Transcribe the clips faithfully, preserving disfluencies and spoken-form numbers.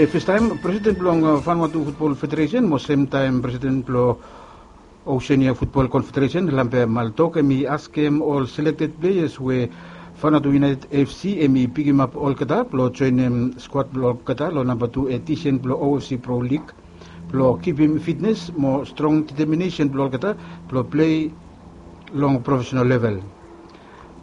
Festaem, presiden blong Vanuatu Futbol Federesen mo semtaem presiden blong Oseania Futbol Konfederesen, Lampe Maltok, hem i askem ol selekted pleas we Vanuatu United FC hem i pikimap olgeta blong joenem skuad blong olgeta long namba tu edisen blong OFC Pro Lig blong kipim fitnes mo strong deteminesen blong olgeta blong plei long profesenal level.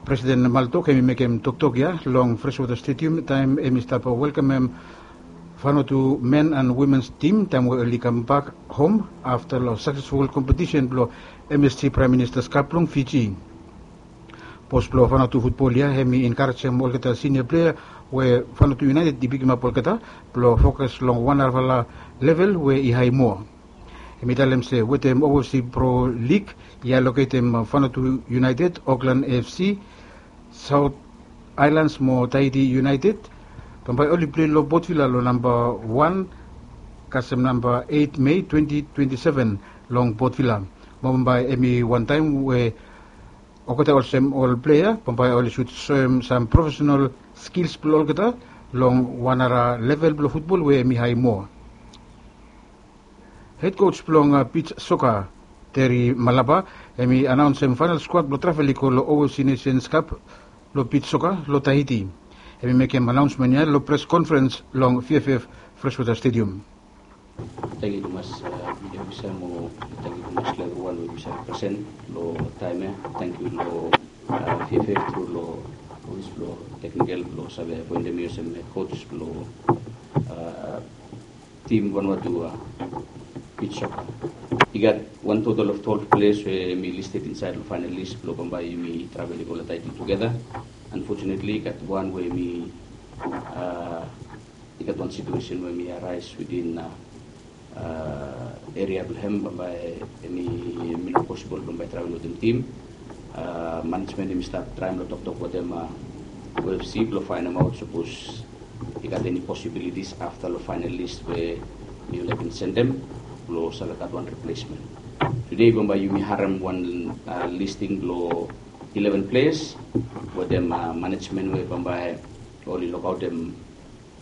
Presiden Maltok hem i mekem toktok ya long Freshwater Stadium taem hem i stap welkamem Vanuatu men and womens tim taem we oli kambak hom afta long saksesful kompetisen blong MSC Praem Minista's Cup blong Fiji. Bos blong Vanuatu futbol ya hem i enkarejem olgeta sinia plea we Vanuatu United i pikimap olgeta blong fokas long wan narafala level we i hae moa. Hem i talem se wetem OFC Pro Lig i aloketem Vanuatu United, Auckland FC, South Islands mo Tahiti United, bambae oli plei long Port Vila long namba wan kasem namba eit Mei twenti twenti seven long Port Vila. Mo bambae hem i wantaem we olgeta olsem ol plea bambae oli sud soem sam profesenal skils blong olgeta long wan nara level blong futbol we hem i hae moa. Hed kos blong bits soka, Terry Malapa, hem i anaonsem faenal skuad blong travel i go long OFC Nations Cup blong bits soka long Tahiti. Hem i mekem anaonsmen ya long pres konferens long VFF Freshwater Stadium. Tangkiu tumas, media ofisa, mo tangkiu tumas long evriwan we yumi save presen long taem ya. Tangkiu long VFF tru long ofis blong teknikel blong save apoentem mi olsem hed kos blong tim Vanuatu bits soka. I gat wan total of twelve players we hem i listed insaed long faenal lis blong bambae yumi travel i go long Tahiti tugeta. Unfortunately i gat wan we hem i i gat wan situesen we hem i araes within eria blong hem bambae hem i no posibol bambae travel wetem tim. Manejmen hem i stap traem long toktok wetem OFC blong faenemaot sapos i gat eni posibilitis afta long faenal lis we mifala i bin sendem blong save gat wan riplesmen. Tude bambae yumi harem wan listing blong eleven players wetem manejmen we bambae oli lokaotem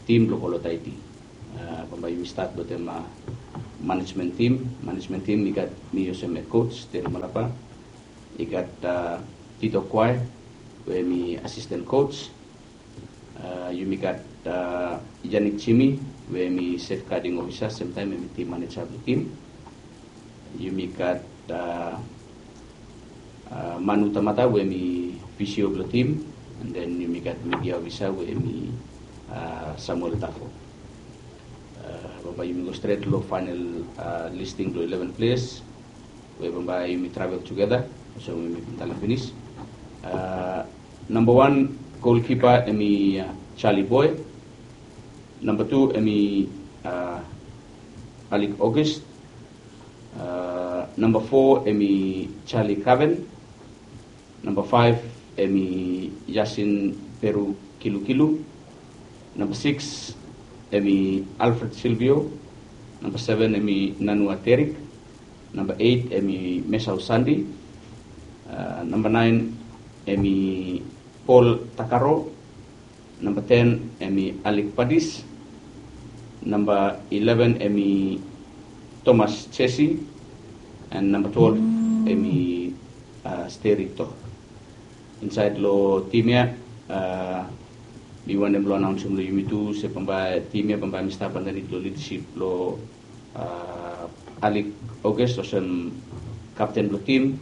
tim blong go long Tahiti. Bambae yumi stat wetem manejmen tim. Manejmen tim i gat mi olsem hed kos, Terry Malapa. I gat Tito Kwae we hem i asisten kos. Yumi gat Yannick Jimmy we hem i safeguarding ofisa, semtaem hem i tim maneja blong tim. Yumi gat Manu Tamata we hem i fisio blong tim, and then yumi gat media ofisa we hem i Samuel Tafo. Bambae yumi go stret long faenal listing blong eleven players we bambae yumi travel tugeta olsem we mi bin talem finis. Namba wan, golkipa hem i Charlie Boy. Namba tu hem i Alec August. Namba fo hem i Charlie Caven. Namba faef hem i Yasin Peru Kilukilu. Namba sikis hem i Alfred Silvio. Namba seven hem i Nanua Terik. Namba eit hem i Mesau Sandi. Namba naen hem i Paul Takaro. Namba ten hem i Alec Padis. Namba eleven hem i Thomas Jesse. And namba twelve hem i Steri Tok. Insaed long tim ya mi wantem blong anaonsem long yumi tu se bambae tim ya bambae mi stap andanit long lidasip blong Alec August olsem kapten blong tim,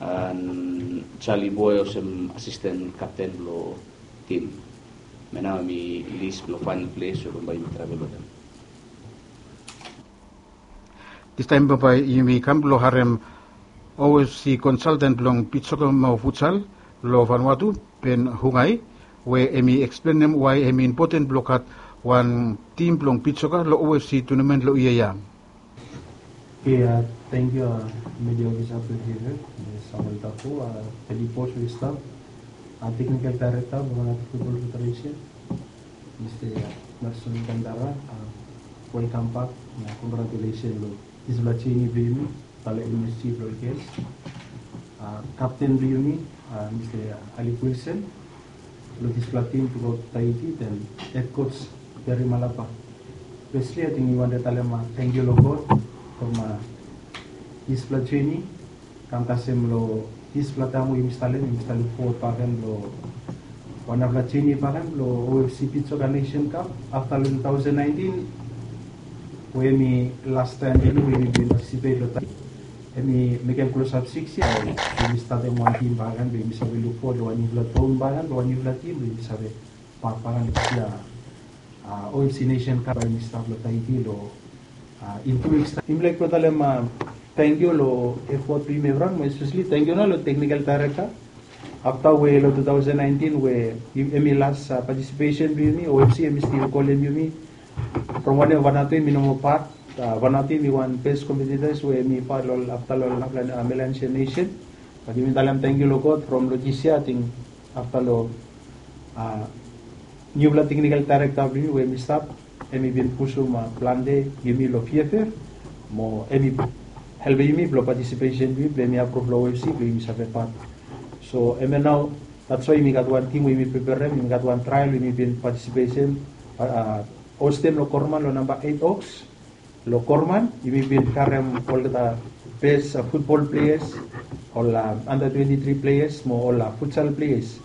and Charlie Boy olsem asisten kapten blong tim. Mo nao hem i lis blong faenal ples we bambae yumi travel wetem. Distaem bambae yumi kam blong harem OFC konsalten blong bits soka mo futsal long Vanuatu, Ben Hungai, we hem i eksplenem wae hem i impoten blong gat wan tim blong bits soka long OFC tunamen long yia ya. Oke, tangkiu media ofisa blong yumi, Samuel Tafo, Felipe Swistam, teknikal daerekta blong Vanuatu Futbol Federesen, Mista Nelson Kandara. Welkam bak na kongratulesen long dispela jeni blong yumi, pala MSC blong ol gels. Kapten blong yumi, Mista Alec Wilson, long dispela tim blong go Tahiti, then hed kos Terry Malapa. Firstly, ating mi wantem talem tangkiu long God from dispela jeni kam kasem long dispela taim we yumi stap long, yumi stap luk forward bagen long wanpela jeni bagen long O F C Beach Soccer Nation Cup afta long two thousand nineteen, we em i last taim yumi bin participate long taim em i mekem klosap six yia. Yumi statim wan tim bagen, be yumi save luk forward long wan nupela taim bagen, long wan nupela tim be yumi save pat bagen long dispela O F C Nation Cup we yumi stap long Tahiti long in two weeks taim. Yumi laik blong talem tangkiu long effort blong yumi evriwan, mo especially tangkiu nao long technical director. Afta we long two thousand nineteen we em i las participation blong yumi, O F C em i stil kolem yumi from wanem Vanuatu em i no moa pat. Vanuatu em i wan best competitors we em i pat long afta long Melanesian Nation. Bat yumi talem tangkiu long God from long dis yia, ating afta long nupela technical director blong yumi we em i stap, em i bin pusum plante yumi long fiafia, mo em i helpim yumi blong participation blong yumi blong em i apruv long O F C blong yumi save pat. So em ya nao, that's why yumi gat wan tim we yumi preparem, yumi gat wan trial we yumi bin participation, hostem long Korman long namba eight Oaks. Long Korman yumi bin karem olgeta best football players, ol under twenty-three players mo ol futsal players.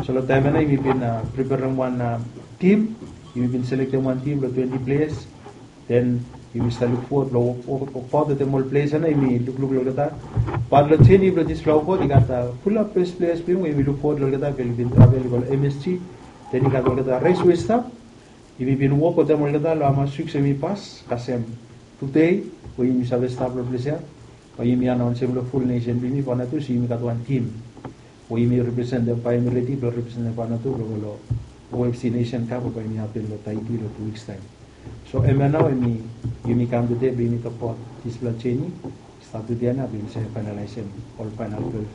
So long taim ya nao yumi bin preparem wan tim, yumi bin selektem wan tim long twenty players. Den yumi stap luk forward long wokbaut wetem ol players ya nao, yumi lukluk long olgeta. Bat long jeni blong dispela wokbaut i gat fulap best players blong yumi we yumi luk forward long olgeta, be oli bin travel i go long M S G. Den i gat olgeta res we i stap. Yumi bin wok wetem olgeta long hamas wiks em i pas, kasem tude we yumi save stap long ples ya, bae yumi anaonsem long ful nesen blong yumi Vanuatu se yumi gat wan tim we yumi representem, bae yumi redi blong representem Vanuatu blong go long O F C Nation Cup we bae yumi hapen long Tahiti long tu wiks taim. So hemia nao hemi, yumi kam tude blong yumi tokbaot dispela jeni. Stat tude ya nao blong yumi save fainalaesem ol fainal twelve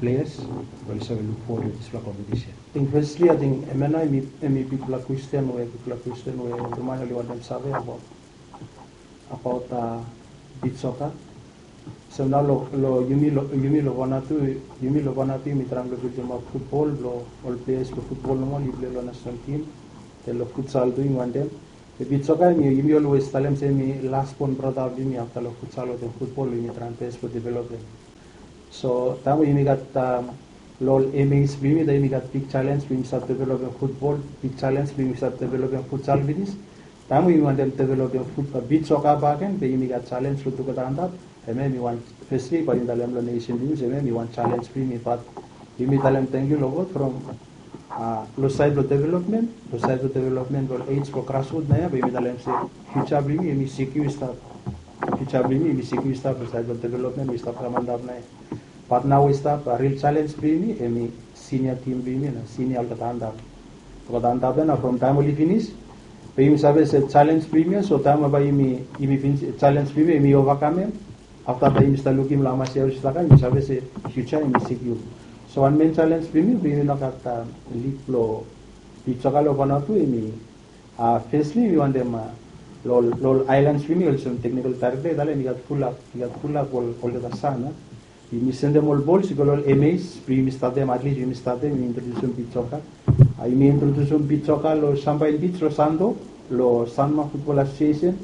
players blong oli save luk fowod long dispela kompetisen. Ating fesli, ating hemia nao hemi bikpela kwestin we, bikpela kwestin we ol man oli wantem save abaot, abaot beach soccer. Olsem nao long, long yumi, long yumi long Vanuatu, yumi long Vanuatu yumi traem blong bildimap futbol blong ol players blong futbol nomo oli plei long national team. Den long futsal tu yumi wantem. Be beach soccer hemi, yumi olwes talem se hemi lasbon brata blong yumi afta long futsal wetem futbol we yumi traem bes blong developem. So taem we yumi gat long ol M As blong yumi, taem yumi gat bik jalenj blong yumi stap developem futbol, bik jalenj blong yumi stap developem futsal finis. Taem we yumi wantem developem beach soccer bakegen, be yumi gat jalenj long tugeta antap. Hemia hemi wan fesli bae yumi talem long nesen blong yumi se hemia hemi wan jalenj blong yumi, bat yumi talem tangkiu long God from long saed blong developmen, long saed blong developmen blong ol age blong grasrut naoia, be yumi talem se fiuja blong yumi hemi sekiu i stap. Fiuja blong yumi hemi sekiu i stap long saed blong developmen we i stap kam antap naoia. Bat nao we i stap, ril jalenj blong yumi hemi sinia tim blong yumi, na sinia olgeta antap. Olgeta antap ya nao from taem oli finis, be yumi save se jalenj blong yumi ya, so taem we bae yumi, yumi finis, jalenj blong yumi hemi ovakamem. Afta bae yumi stap lukim long hamas yia oli stap kam, yumi save se fiuja hemi sekiu. So wan men jalenj blong yumi, blong yumi no gat lig blong beach soccer long Vanuatu, hemi fesli yumi wantem long ol aelans blong yumi, olsem teknikol daerekta i talem, i gat fulap, i gat fulap ol, olgeta san ya. Yumi sendem ol bols i go long ol M As blong yumi statem, atlis yumi statem, yumi introdiusim beach soccer. Yumi introdiusim beach soccer long Sampain Beach long Santo, long Sanma Football Association,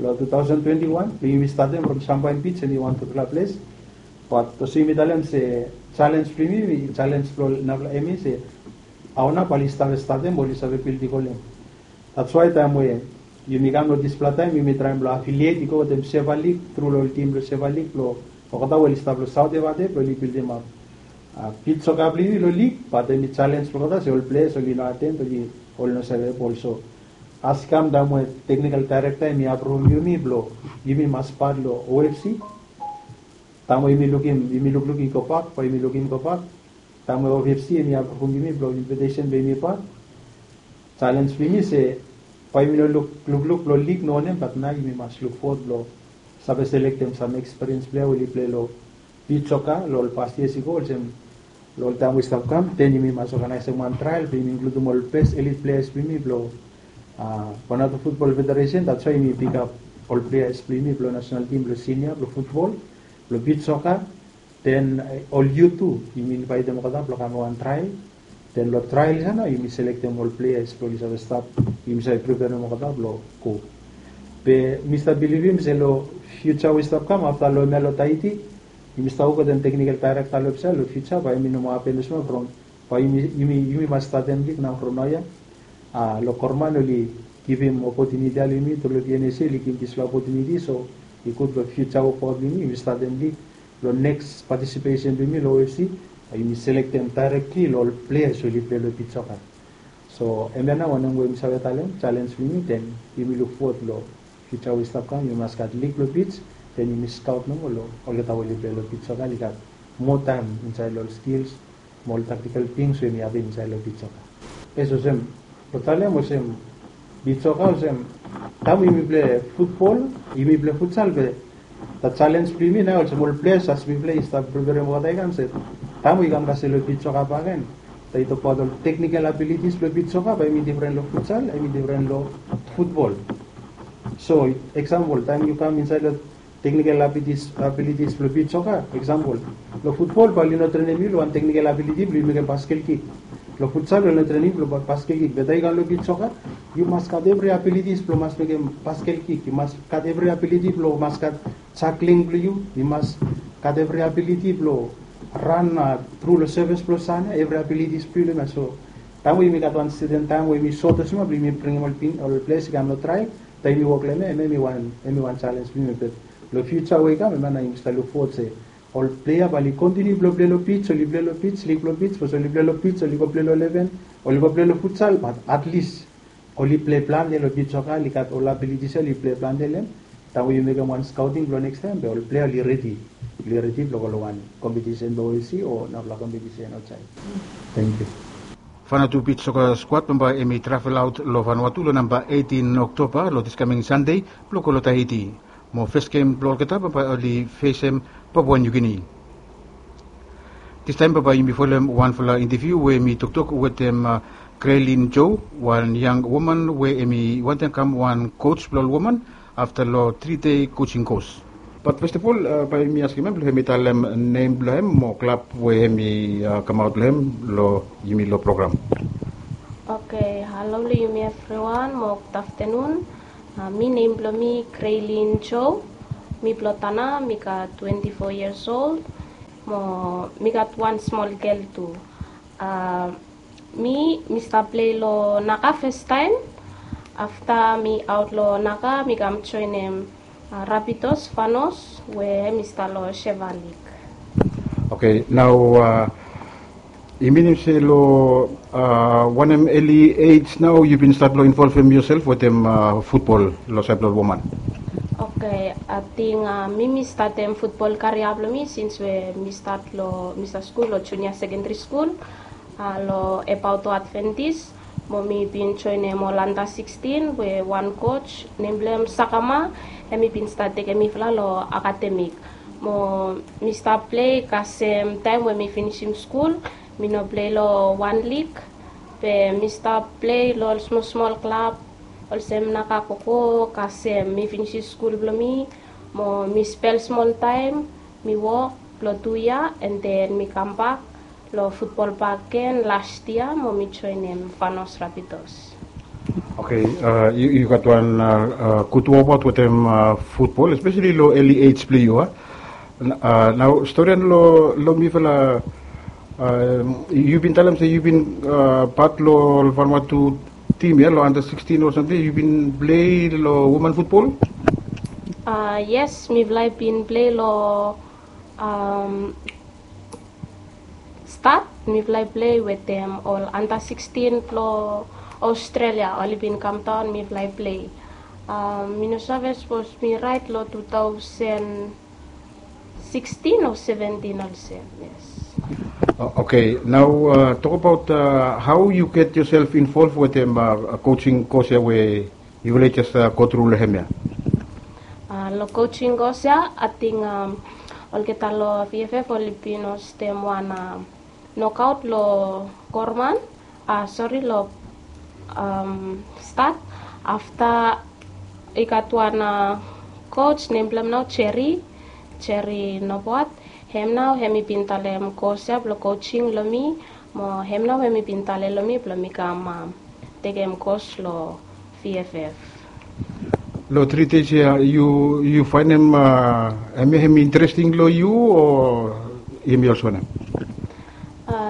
long two thousand twenty-one blong yumi statem from Sampain Beach, hemi wan gutpela ples. Bat olsem yumi talem se jalenj blong yumi, jalenj blong ol narafala M A se hao nao bae oli save statem, bae oli save bildim ol em. That's why taem we yumi kam long dispela taem, yumi traem blong affiliate i go wetem Seva League, tru long ol tim blong Seva League, blong olgeta we oli stap long Saot Evate, blong oli bildimap beach soccer blong yumi long lig, bat hemi jalenj blong olgeta se ol ples oli no aten, oli, oli no save bol. So as i kam taem we teknikol daerekta hemi apruvum yumi blong yumi mas pat long O F C. Taem we yumi lukim, yumi lukluk i go bak, bae yumi lukim i go bak. Taem we O F C hemi apruvum yumi blong invitesen blong yumi pat, jalenj blong yumi se bae yumi no luk, lukluk long lig, no wanem, bat nao yumi mas luk fowod blong save selektem sam ekspiriens plea we oli plei long beach soccer long ol past yias i go, olsem long ol taem we i stap kam, den yumi mas oganaesem wan trael blong yumi inkludim ol bes elit pleas blong yumi blong Vanuatu Football Federation. That's why yumi pikap ol pleas blong yumi blong nasenal tim blong sinia, blong futbol, blong beach soccer. Den ol yut tu, yumi invaetem olgeta blong kam long wan trael. Den long trael ya nao yumi selektem ol pleas blong oli save stap, yumi save preperem olgeta blong go. Be mi stap bilivim se long fiuja we i stap kam afta long hemia long Tahiti, yumi stap wok wetem teknikal daerekta long hemia long fiuja, bae hemi no moa hapen olsem from, bae yumi, yumi, yumi mas statem lig nao from naoia. A, long Korman oli givim opotuniti ya long yumi, tru long D N S A oli givim dispela opotuniti, so i gud long fiuja wok blong yumi, yumi statem lig. Long neks patisipesen blong yumi long O F C, bae yumi selektem daerektli long ol pleas we oli plei long bit soka. So hemia nao wanem we mi save talem, jalens blong yumi, den yumi luk fowod long fiuja we i stap kam, yumi mas gat lig blong bit, den yumi skaot nomo long olgeta we oli plei long bit soka, oli gat moa taem insaed long ol skils mo ol taktikal tings we yumi havim insaed long bit soka. Yes, olsem, long talem olsem, bit soka olsem, taem we yumi plei futbol, yumi plei futsal, be da jalens blong yumi nao olsem ol pleas as mi plei i stap preperem olgeta i kam se, taem we i kam kasem long bit soka bakegen, da i tokbaot ol teknikal abilitis blong bit soka, bae hemi defren long futsal, hemi defren long futbol. So eksampol, taem yu kam insaed long teknikal abilitis, abilitis blong bit soka, eksampol, long futbol bae oli no trenem yu long wan teknikal abiliti blong yu mekem baskel kik. Long futsal oli no trenem yu blong ba-, baskel kik. Be taem yu kam long bit soka, yu mas gat evri abilitis blong mas mekem baskel kik. Yu mas gat evri abiliti blong mas gat jakling blong yu, yu mas gat evri abiliti blong ran, a, tru long sevis blong san ya, evri abilitis blong yu long hemia. So taem we yumi gat wan seten taem we yumi sot olsem ya blong yumi bringim ol pin, ol pleas i kam long trael, taem yumi wok long hemia, hemia hemi wan, hemi wan jalens blong yumi. Be long fiuja we i kam, hemia nao yumi stap luk fowod se ol plea bae oli kontiniu blong plei long bit, oli plei long bit, lig blong bit, sapos oli plei long bit, oli go plei long ileven, oli go plei long futsal, bat atlis oli plei plante long bit soka, oli gat ol abilitis ya, oli plei plante long hem. Taem we yu mekem wan skaoting blong neks taem, be ol plea oli redi, oli redi blong go long wan kompetisen long O S C o narafala kompetisen aotsaed. Tangkiu. Vanuatu Beach Soccer Squad bambae hemi travel aot long Vanuatu long namba eitin Oktoba, long this coming Sunday, blong go long Tahiti. Mo fes gem blong olgeta bambae oli fesem Papua New Guinea. Distaem bambae yumi folem wanfala inteviu we hemi toktok wetem, a, Graylin Joe, wan yang woman we hemi wantem kam wan coach blong ol woman afta long tri dei coaching course. Bat fes of ol, a, bae yumi askem hem blong hemi talem nem blong hem mo klab we hemi, a, kamaot long hem long yumi long program. Oke, halo long yumi evriwan mo gud aftenun. A, mi nem blong mi Graylin Joe. Mi blong Tanna, mi gat twenti fo yias ol. Mo mi gat wan smol gel tu. A, mi, mi stap plei long Naga festaem. Afta mi aot long Naga, mi kam joenem, a, Rapidos Vanos we hemi stap long Sheva Lig. Oke, nao, a, i minim se long, a, wanem eli ej nao yu bin stat long involvem yusel wetem, a, futbol long saed blong ol woman? Oke, ating, a, mi, mi statem futbol karia blong mi sins we mi stat long, mi stat skul long junia sekendari skul, a, long Ebaoto Adventist. Mo mi bin joenem ol anda sikstin we wan coach nem blong hem Sakama, hemi bin stat tekem mifala long akademik. Mo mi stap plei kasem taem we mi finisim skul, mi no plei long wan lig, be mi stap plei long ol smol smol klab olsem Naga Koko, kasem mi finisim skul blong mi, mo mi spel smol taem, mi wok blong tu yia, and then mi kambak long futbol bakegen las yia mo mi joenem Vanos Rapidos. Oke, a, yu, yu gat wan, a, a, gud wokbaot wetem, a, futbol, espeseli long eli ej blong yu, a. N-, a, nao storian long, long mifala, a, yu bin talem se yu bin, a, pat long Vanuatu tim ya, long anda sikstin o samting, yu bin plei long woman futbol? A, yes, mifala i bin plei long, am, stat, mifala i plei wetem ol anda sikstin blong Australia, oli bin kamdaon, mifala i plei. A, mi no save sapos mi raet long tu taosen sikstin o seventin olsem, yes. O-, oke, nao, a, tokbaot, a, hao yu get yusel involv wetem, a, coaching kos ya we yufala i jes, a, go tru long hemia? A, long coaching kos ya, ating, am, olgeta long V F F oli bin hostem wan, am, nokaot long Korman, a, sori, long, am, stat. Afta i gat wan, a, coach nem blong hem nao Jerry, Jerry Noboat. Hem nao hemi bin talem kos ya blong coaching long mi, mo hem nao hemi bin talem long mi blong mi kam, am, tekem kos long V F F. Long tri days ya yu yu faenem hemia hem interesting long yu o hemia olsem wanem?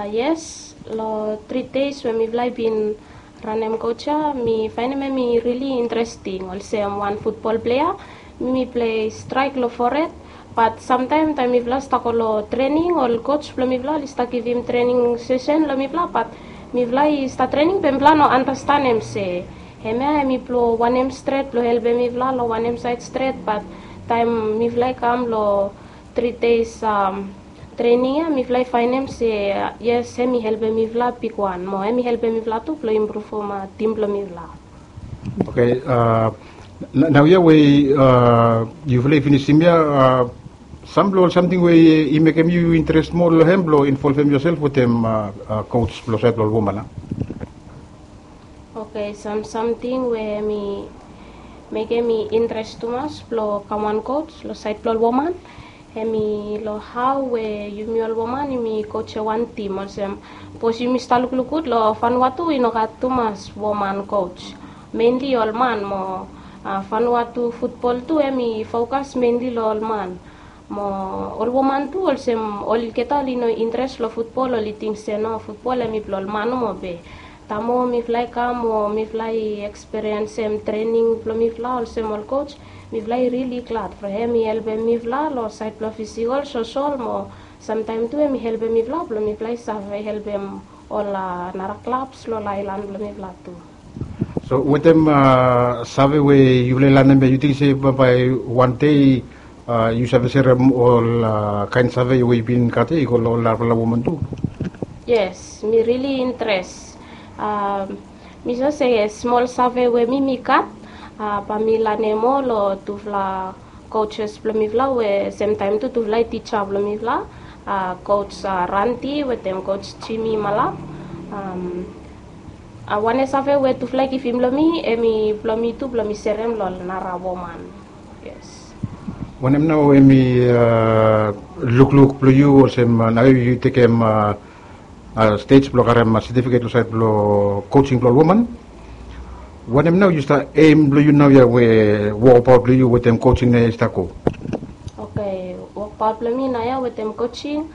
Yes, long tri days we mifala i bin ranem coach ya, mi faenem hem i rili interesting olsem wan futbol plea. Mi mi plei straik long fored. Bat samtaem taem mifala stap go long trening, ol coach blong mifala oli stap givim trening sesen long mifala, bat mifala i stap trening be mifala no anastanem se hemia hem i blong wanem stret blong helpem mifala long wanem saed stret. Bat taem mifala i kam long tri days trening ya, mifala i faenem se yes, hem i helpem mifala bigwan mo hem i helpem mifala tu blong impruvum tim blong mifala. Oke, naoia we yufala i finisim ya, sam blong ol samting we i mekem yu interes moa long hem blong involvem yosel wetem coach blong saed blong ol woman a? Oke, sam samting we hem i mekem mi interes tumas blong kam wan coach long saed blong ol woman, hem i long hao we yumi ol woman yumi coach ya wan tim olsem, bikos yumi stap lukluk gud long Vanuatu i no gat tumas woman coach, menli ol man mo Vanuatu futbol tu hem i fokas menli long ol man. Mo ol woman tu olsem olgeta oli no interes long futbol, oli ting se no, futbol hem i blong ol man nomo be taem mifala i kam o mifala i ekspiriensem trening blong mifala olsem ol coach, mifala i rili glad from hem i helpem mifala long saed blong fisikol, sosol mo samtaem tu hem i helpem mifala blong mifala i save helpem ol nara klabs long ol aelan blong mifala tu. So wetem save we yufala i lanem ya, yu ting se bae wan dei yu save serem ol kaen save we yu bin gat ya i go long ol narafala woman tu? Yes, mi rili interes. Mi so se smol save we mi mi gat, bae mi lanem moa long tufala coaches blong mifala we semtaem tu tufala i tija blong mifala, coach Ranti wetem coach Jimmy Malap. Wane save we tufala i givim long mi hem i blong mi tu blong mi serem long ol nara woman. Yes. Wanem nao hem i lukluk blong yu olsem nao yu tekem stej blong karem setifiket long saed blong coaching blong ol woman? Wanem nao yu stap eim blong yu naoia we wokbaot blong yu wetem coaching naoia i stap go? Oke, wokbaot blong mi naoia wetem coaching,